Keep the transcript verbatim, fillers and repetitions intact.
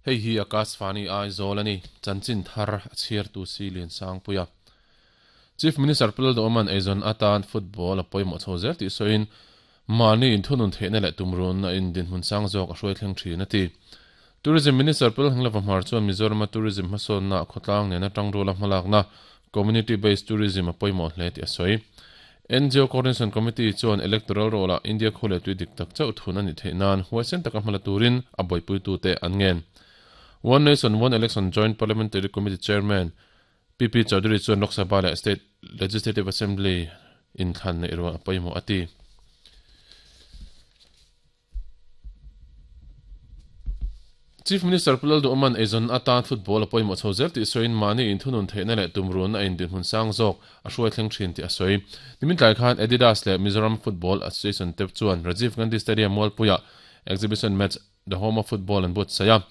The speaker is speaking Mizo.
Hei hi Akashvani Aizawl a ni. Chanchin thar a chhiartu si Lian Sangpuia. Chief Minister Pu Lalduhoma'n eizawn atan football a pawimawh chho zel tih sawiin mahni inthunun theihna leh tumrun a in dinhmun sang zawk a hruai thleng thin a ti. Tourism Minister Pu Lalhenghlova Hmar chuan Mizorama tourism hmasawnna khawtlang nena tangruala hmalakna Community Based Tourism a pawimawh hle tih a sawi. N G O Coordination Committee chuan electoral roll-a India khu leh tui dik tak chauh thun a nih theih nan huaisen taka hmala turin a buaipuitute an ngen. One Nation One Election Joint Parliamentary Committee Chairman P P Chaudhary chuan Lok Sabha leh State Legislative Assembly inthlan neih rual a pawimawh a ti. Chief Minister Pu Lalduhoma'n eizawn atan football a pawimawh chho zel tih sawiin mahni inthunun theihna leh tumrun a indinhmun sang zawk a hruai thleng thin tih a sawi. Nimin tlai khan Adidas leh Mizoram Football Association te chuan Rajiv Gandhi Stadium Mualpuiah exhibition match The Home of Football an buatsaih a.